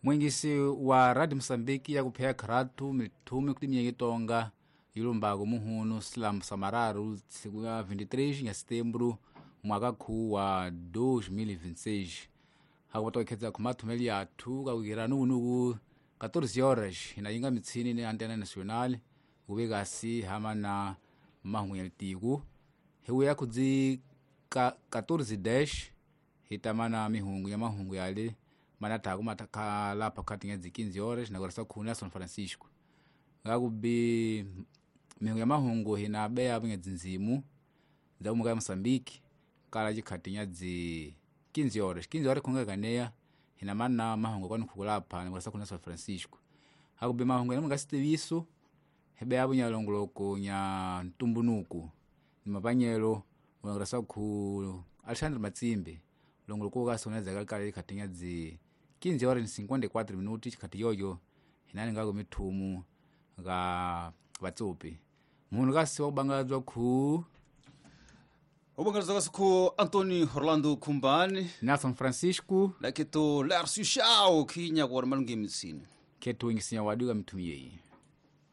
Mwingisi wa Radio Mosambiki ya kupheya kharatu mithumi kuti minyeki tonga yilumbako muhunu silamu samararu siku ya 23 ya setembro mwaka khu wa 2026 hakupata kukhedza khumathumeli yathu kakukira nukunuku 14 horas inayinga mitsini ni antena nacional kuvekasi hama na mahungu ya litiku hiwuya khudzi 14 dash hitamana mihungu ya mahungu yale manathaku matakhalapha khati ngedzi 15 horas nakurasa khuni ya São Francisco ngakubi mihungu ya mahungu hinabeya ngedzi nzimu dza umuka ya Moçambique kala chikhati nyadzi 15 horas 15 horas khungekaneya hinamana mahungu kwanu khukulapha nakurasa khuni ya São Francisco hakubi mahungu ya mungasitiviso hibeya bunyalongoloko nya ntumbunuku ni mapanyelo unakurasa khu Alexandre Matsimbe longoloko kasi unadzaka kale chikhati nyadzi 15 horas 54 minuti chikhati yoyo hinani ngako mithumu nga vatsopi munhu kasi wakubangadzwa khu ubangadzwa kasi khu Antônio Orlando Khumbani Nelson Francisco laketo Lércio Chao khinya kuwari malungu emitsini khethu ingisinya wadu ka mithumu yeyi.